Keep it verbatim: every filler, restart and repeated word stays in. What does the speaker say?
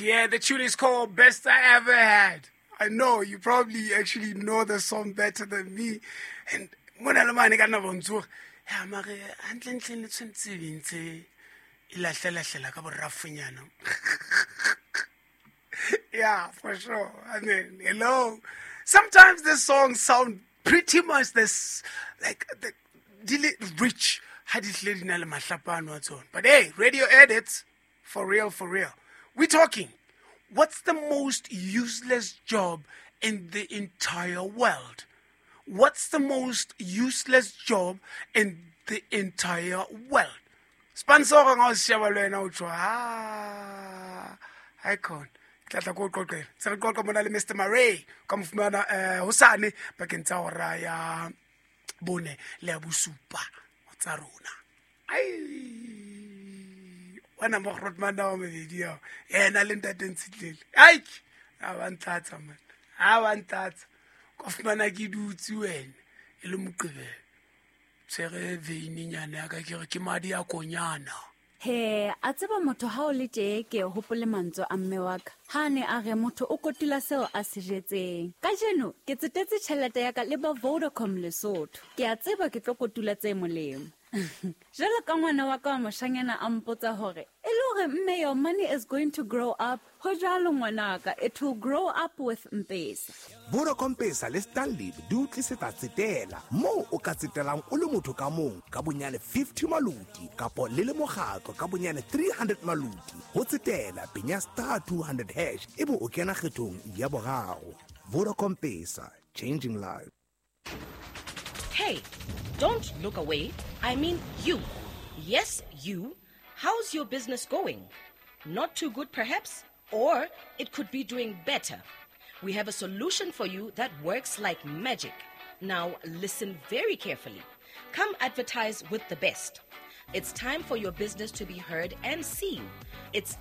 Yeah, the tune is called Best I Ever Had. I know you probably actually know the song better than me. And mona le mane ka nna bontsoga ya mare hantlentle le tshwanetse be ntse e lahlela-hlela ka borafonyana. Yeah, for sure. I mean, hello. Sometimes the songs sound pretty much this, like, the, di le rich ha di hlile di na le mahlapano a tsona. But hey, radio edits, for real, for real. We're talking, what's the most useless job in the entire world? What's the most useless job in the entire world? Sponsor nga o sheba le wena o tjho, ah, icon. Tla tla ko qoqela. Se re qoqa mona le Mister Murray ka mo fumana eh hosane pakeng tsa hora ya bone le ya bosupa tsa rona. Ai, wena mo Grootman wa mabedi ao. Yena le ntate Ntshitlele. Ai, a ba ntlatsa man. A ba ntlatsa. Ka fumana ke dutse wena e le Moqebelo. Tshwere veininyana ya ka ke re ke madi a konyana. He, a tseba motho ha o le tje ke hopole mantswe a mme wa ka. Ha ne a re motho o kotula seo a se jetseng. Kajeno ke tsetetse tjhelete ya ka le ba Vodacom Lesotho. Ke a tseba ke tlo kotula tse molemo. Jwalo ka ngwana wa ka wa moshanyana a mpotsa hore e le hore mme your money is going to grow up. Ho jwalo ngwanaka, it will grow up with M-Pesa. Vodacom Pesa le Stanlib di o tlisetsa tsetela moo o ka tsetelang o le motho ka mong ka bonyane fifty maluti kapo le le mokgatlo ka bonyane three hundred maluti. Ho tsetela penya star two hundred hash ebe o kena kgethong ya boraro. Vodacom Pesa, changing lives. Hey, don't look away. I mean you. Yes, you. How's your business going? Not too good, perhaps? Or it could be doing better. We have a solution for you that works like magic. Now, listen very carefully. Come advertise with the best. It's time for your business to be heard and seen. It's